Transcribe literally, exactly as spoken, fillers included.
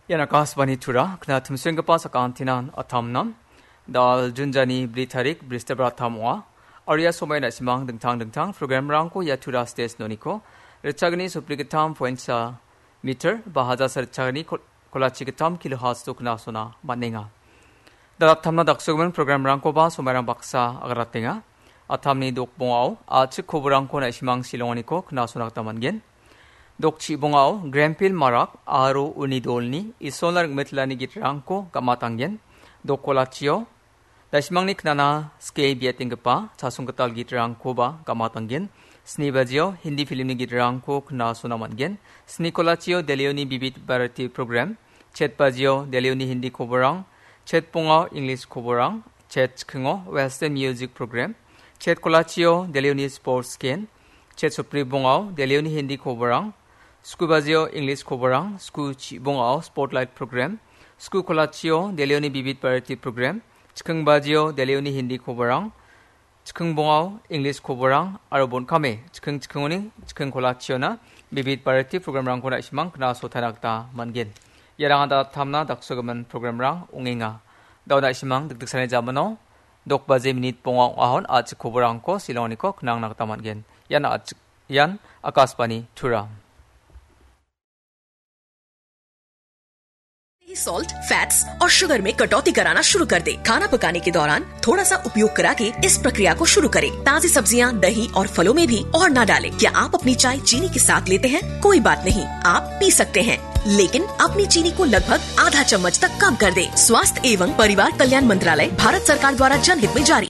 Ian Akashvani Tura, kna timsenggipa sakantinan atamnam. Dal Junjani bri tarik, Bristibar atam ong·a. Aria somai na·simang dingtang dingtang programrangko ia Tura stage noniko, ritchagni sopri gittam pointsa meter, ba hajar sa ritchagni kol-, kolachi gittam kilohertz-o knasona man·enga. Dalattamna daksogimin programrangkoba somairang baksa agratenga. Atamni dokbongao a·chik koborangko na·simang silonganiko knasona gita man·gen. Dokchibongao Grenville Marak aro uni dolni Isolna ringmetlani gitrangko gamatanggen. Dokkolachio na·simangni knana skie biatenggipa chasonggital gitrangkoba gamatanggen. Sni bajio Hindi filmni gitrangko knasona man·gen. Sni kolachio Delhioni Bibit Bharati program. Chet bajio Delhioni Hindi koborang. Chet bongao English koborang. Chet chikingo Western music program. Chet kolachio Delhioni sports scan. Chet sopri bongao Delhioni Hindi koborang. Sku bajio English koborang. Sku chibongao spotlight program. Sku kolachio Delhioni Bibit Bharati program. Chiking bajio Delhioni Hindi koborang. Chiking bongao English koborang aro bonkame chiking chikingoni chiking kolachiona Bibit Bharati programrangko na·simang knasotaina gita man·gen. Iarang dalattamna daksogimin programrang ong·enga. Dao na·simang dikdiksani jamano dok baje minit bonga ong·ahon a·chik koborangko silonganiko knangna gita man·gen. Ian a·chik, ian Akashvani Tura. Salt, fats और शुगर में कटौती कराना शुरू कर दे। खाना पकाने के दौरान थोड़ा सा उपयोग करा के इस प्रक्रिया को शुरू करें। ताजी सब्जियां, दही और फलों में भी और ना डालें। क्या आप अपनी चाय चीनी के साथ लेते हैं? कोई बात नहीं, आप पी सकते हैं, लेकिन अपनी चीनी को लगभग आधा चम्मच तक कम कर दें। स्वास्थ्य एवं परिवार कल्याण मंत्रालय, भारत सरकार द्वारा जनहित में जारी।